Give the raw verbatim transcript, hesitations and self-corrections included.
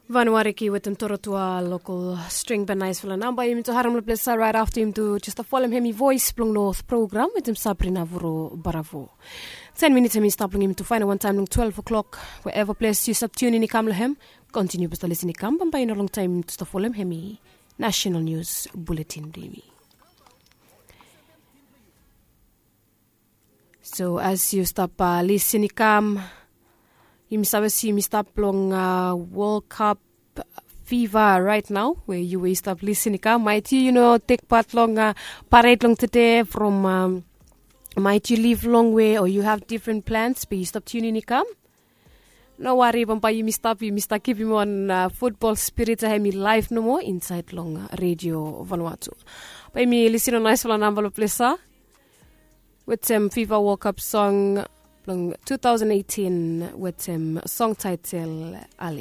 Vanuariki wetem torotua lokol string ben naisfala namba yumi tu harim long ples rait afta yumi tu jesta folem hemi voes blong north program wetem sabrina vuro baravo. Ten minits hemi stap long yumi tu fainal wantaim long twelve o'clock. Wherever ples yu stap tunin i kam long hem, kontiniu basta lisin i kam bambae i no longtaim yumi tu stap folem hemi national news bulletin blong yumi. So as yu stap uh, lisin i kam, yumi save si yumi stap long uh, world cup fiva right now we yu we yu stap lisin i kam, maiti yu no tek pat long uh, paret long tede from um, maiti yu liv long we o yu have different plans be yu stap tunin i kam. No wari bambae yumi stap yumi stap kipim wan uh, futbol spirit a hemi laif nomo insait long uh, redio vanuatu. Bae yumi lisin long naisfala namba long plesa wetem fiva world cup song long two thousand eighteen wetem song title ali.